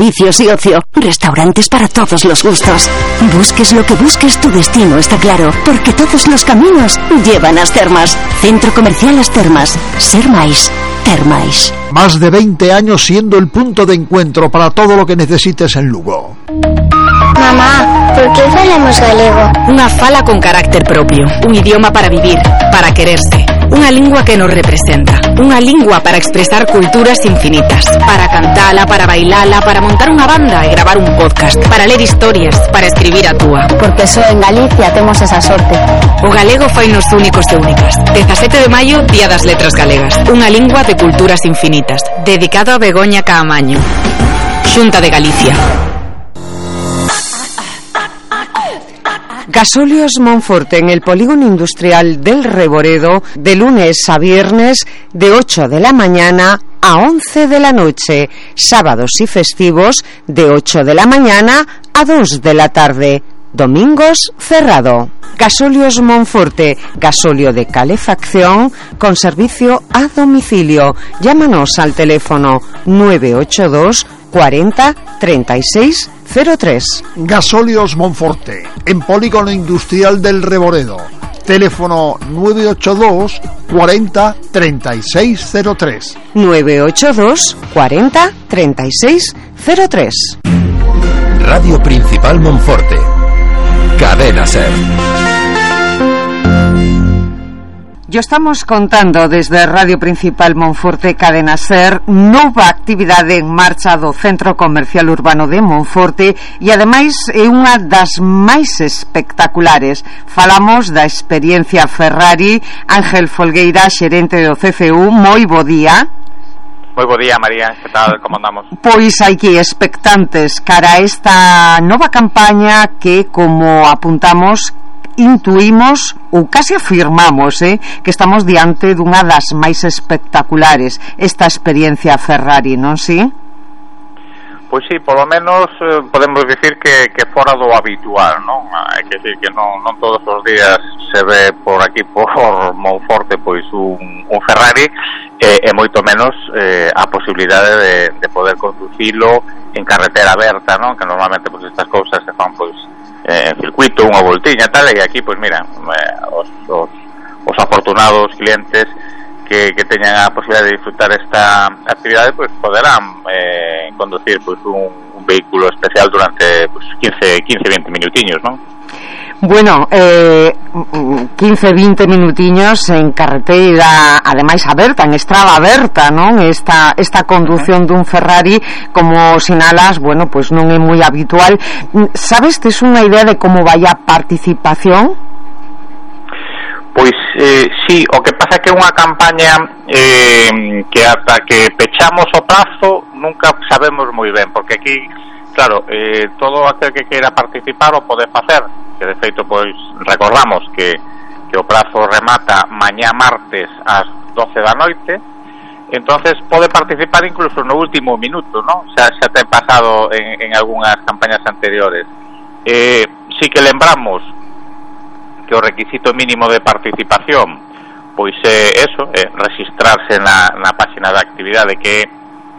servicios y ocio, restaurantes para todos los gustos. Busques lo que busques, tu destino está claro, porque todos los caminos llevan a As Termas. Centro Comercial As Termas. Ser máis, ter máis. Más de 20 años siendo el punto de encuentro para todo lo que necesites en Lugo. Mamá, por que falamos galego? Unha fala con carácter propio, un idioma para vivir, para quererse, unha lingua que nos representa, unha lingua para expresar culturas infinitas, para cantala, para bailala, para montar unha banda e gravar un podcast, para ler historias, para escribir a túa. Porque só en Galicia temos esa sorte. O galego fainos únicos e únicas. 17 de maio, Día das Letras Galegas, unha lingua de culturas infinitas, dedicado a Begoña Caamaño. Xunta de Galicia. Gasóleos Monforte en el polígono industrial del Reboredo, de lunes a viernes de 8 de la mañana a 11 de la noche, sábados y festivos de 8 de la mañana a 2 de la tarde, domingos cerrado. Gasóleos Monforte, gasóleo de calefacción con servicio a domicilio. Llámanos al teléfono 982 40 36 03. Gasóleos Monforte, en polígono industrial del Reboredo. Teléfono 982 40 36 03. 982 40 36 03. Radio Principal Monforte. Cadena Ser. Yo estamos contando desde Radio Principal Monforte, Cadena Ser, nova actividade en marcha do Centro Comercial Urbano de Monforte e ademais é unha das máis espectaculares. Falamos da experiencia Ferrari. Ángel Folgueira, xerente do CCU, moi bo día. Moi bo día, María, que tal, como andamos? Pois aquí expectantes cara a esta nova campaña que, como apuntamos, intuimos ou casi afirmamos que estamos diante dunha das máis espectaculares, esta experiencia Ferrari, non si? Pois sí, polo menos podemos dicir que fora do habitual, non? Hai que dicir que non todos os días se ve por aquí, por Monforte, pois un Ferrari, e moito menos a posibilidade de poder conducilo en carretera aberta, non? Que normalmente pois estas cousas se fan pois en circuito, unha voltiña e tal, e aquí, pois mira, os afortunados clientes que teñan a posibilidade de disfrutar esta actividade, pois poderán conducir pois un vehículo especial durante pois 15-20 minutiños, non? Bueno, 15-20 minutiños en carretera, ademais aberta, en estrada aberta, non? Esta condución dun Ferrari, como sinalas, bueno, pues non é moi habitual. Sabes, tes unha idea de como vai a participación? Pois sí, o que pasa é que é unha campaña que ata que pechamos o prazo nunca sabemos moi ben, porque aquí, claro, todo aquel que queira participar o pode facer, que de feito pois recordamos que o prazo remata mañá martes ás 12 da noite, entonces pode participar incluso no último minuto, ¿no? Xa ten pasado en algunhas campañas anteriores. Sí que lembramos que o requisito mínimo de participación pois é eso, registrarse na página de actividade que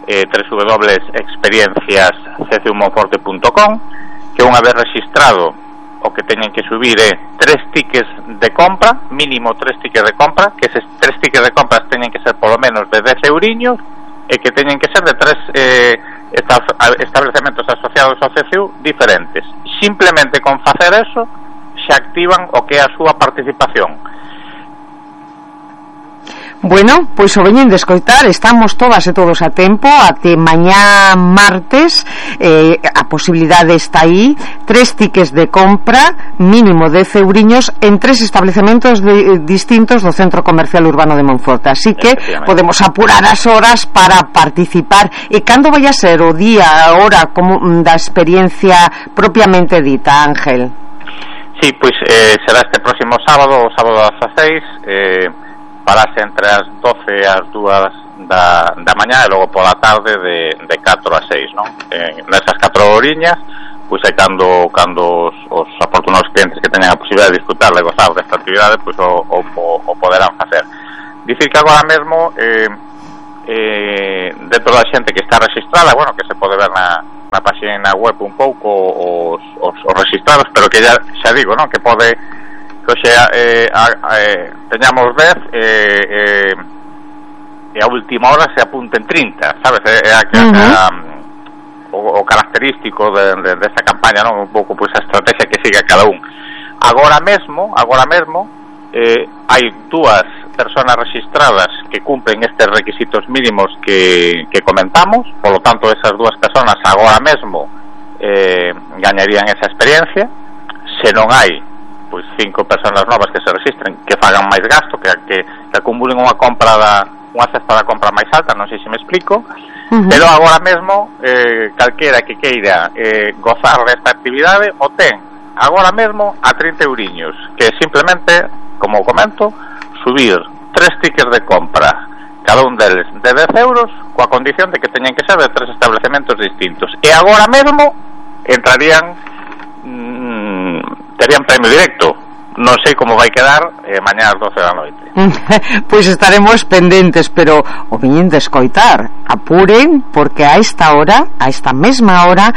é www.experienciasccumonforte.com, que unha vez registrado o que teñen que subir é 3 tickets de compra, mínimo 3 tickets de compra, que eses 3 tickets de compras teñen que ser polo menos de 10 euriños e que teñen que ser de 3 establecementos asociados ao CCU diferentes. Simplemente con facer eso xa activan o que é a súa participación. Bueno, pois o veñen de escoitar, estamos todas e todos a tempo, até mañá martes, a posibilidade está aí, 3 tickets de compra, mínimo 10 euriños, en 3 establecementos distintos do Centro Comercial Urbano de Monforte, así que podemos apurar as horas para participar. E cando vai a ser o día, a hora como da experiencia propiamente dita, Ángel? Sí, pois será este próximo sábado, o sábado ás 16, parase entre as 12 e as 2 da mañá e logo pola tarde de 4 a 6, non? Nesas 4 horiñas, pois é cando os afortunados clientes que teñan a posibilidade de disfrutar e gozar desta actividade, pois o poderán facer. Dicir que agora mesmo dentro da xente que está registrada, bueno, que se pode ver na na página web un pouco os registrados, pero que xa digo, non, que pode que teñamos 10 e a última hora se apunten 30, sabes? O característico desta campaña, non? Un pouco pois a estrategia que siga cada un. Agora mesmo hai 2 personas registradas que cumplen estes requisitos mínimos que comentamos, polo tanto esas 2 personas agora mesmo gañarían esa experiencia. Se non hai pois 5 personas novas que se registren, que fagan máis gasto, que acumulen unha cesta da compra máis alta, non sei se me explico. Pero agora mesmo calquera que queira gozar desta actividade o ten agora mesmo a 30 euriños, que simplemente, como comento, subir 3 tickets de compra, cada un deles de 10 euros, coa condición de que teñen que ser de 3 establecementos distintos, e agora mesmo entrarían terían premio directo. Non sei como vai quedar mañá ás 12 da noite. Pois estaremos pendentes, pero o viñen de escoitar, apuren, porque a esta mesma hora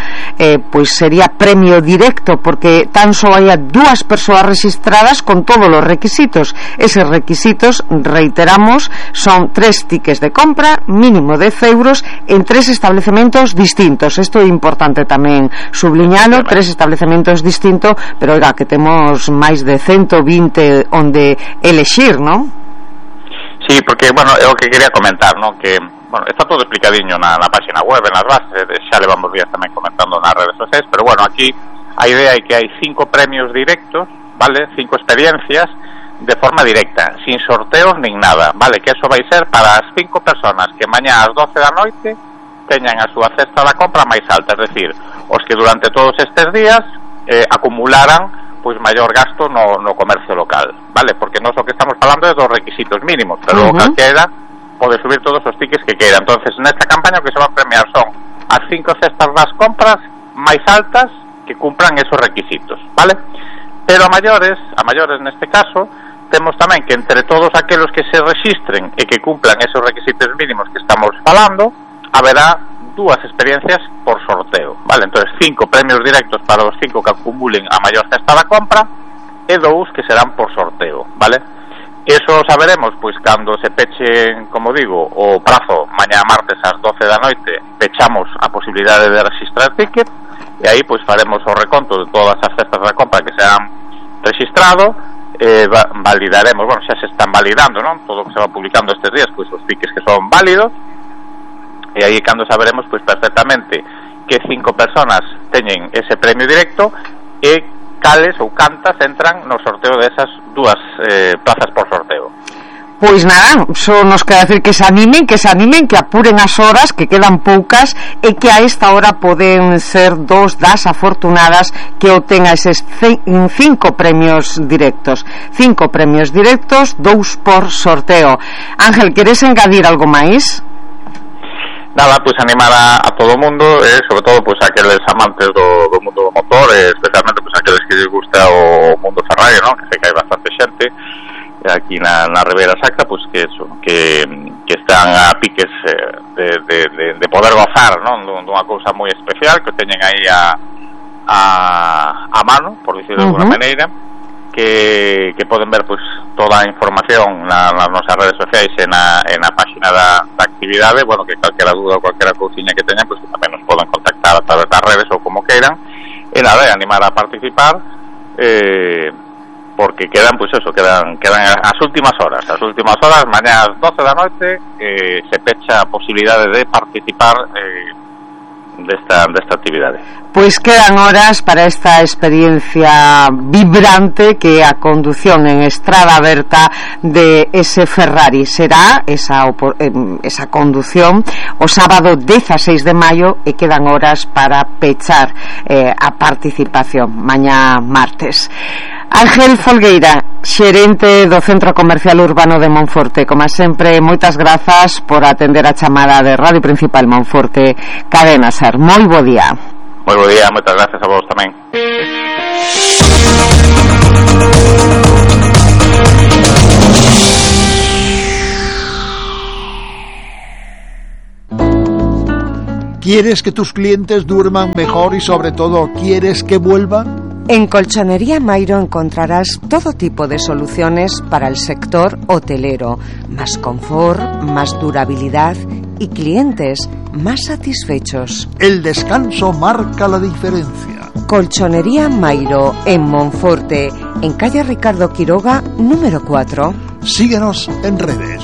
pois sería premio directo, porque tan só hai 2 persoas registradas con todos os requisitos. Eses requisitos, reiteramos, son 3 tickets de compra, mínimo 10 euros en 3 establecementos distintos. Isto é importante tamén subliñalo, 3 establecementos distintos, pero oiga, que temos máis de 120 onde elexir, non? Sí, porque, bueno, é o que quería comentar, non? Que, bueno, está todo explicadiño na página web, en las bases, xa levamos días tamén comentando nas redes sociais, pero, bueno, aquí a idea é que hai 5 premios directos, vale? 5 experiencias de forma directa, sin sorteos nin nada, vale? Que eso vai ser para as 5 personas que mañá ás 12 da noite teñan a súa cesta da compra máis alta, es decir, os que durante todos estes días acumularan pois maior gasto no comercio local, vale? Porque nós o que estamos falando é dos requisitos mínimos, pero calquera pode subir todos os tickets que queira. Entonces, nesta campaña o que se va a premiar son as 5 cestas das compras máis altas que cumplan esos requisitos, vale? Pero a maiores neste caso, temos tamén que entre todos aqueles que se registren e que cumplan esos requisitos mínimos que estamos falando, haberá 2 experiencias por sorteo, vale? Entonces 5 premios directos para os 5 que acumulen a maior cesta da compra e 2 que serán por sorteo, vale? Eso saberemos pois cando se peche, como digo, o prazo mañá martes ás 12 da noite, pechamos a posibilidade de registrar ticket e aí pois faremos o reconto de todas as cestas da compra que se han registrado, validaremos, bueno, xa se están validando, non? Todo o que se va publicando estes días, pois os tickets que son válidos. E aí cando saberemos pois perfectamente que 5 personas teñen ese premio directo e cales ou cantas entran no sorteo desas 2 plazas por sorteo. Pois nada, só nos queda decir que se animen, que apuren as horas, que quedan poucas, e que a esta hora poden ser 2 das afortunadas que obtenga eses 5 premios directos. 5 premios directos, 2 por sorteo. Ángel, queres engadir algo máis? Nada, pois animar a todo o mundo, sobre todo pois aqueles amantes do mundo do motor, especialmente pois aqueles que les gusta o mundo Ferrari, non? Que sei que hai bastante xente aquí na Ribeira Sacra, pois que eso, que están a piques de poder gozar, non? Dunha cousa moi especial que teñen aí a mano, por dicirlo de alguna maneira, que poden ver pois toda a información nas nosas redes sociais e na página da actividade. Bueno, que calquera dúda ou calquera cousiña que teñan, pois que tamén nos poden contactar a través das redes ou como queiran, e nada, animar a participar, porque quedan as últimas horas, mañá ás 12 da noite se pecha a posibilidade de participar desta actividade. Pois quedan horas para esta experiencia vibrante que é a condución en estrada aberta de ese Ferrari. Será esa condución o sábado 16 de maio e quedan horas para pechar a participación mañá martes. Ángel Folgueira, xerente do Centro Comercial Urbano de Monforte, como sempre, moitas grazas por atender a chamada de Radio Principal Monforte, Cadena SER. Moi bo día. Moi bo día, moitas gracias a vos tamén. ¿Quieres que tus clientes duerman mejor y sobre todo quieres que vuelvan? En Colchonería Mairo encontrarás todo tipo de soluciones para el sector hotelero, más confort, más durabilidad y clientes más satisfechos. El descanso marca la diferencia. Colchonería Mairo en Monforte, en calle Ricardo Quiroga, número 4. Síguenos en redes.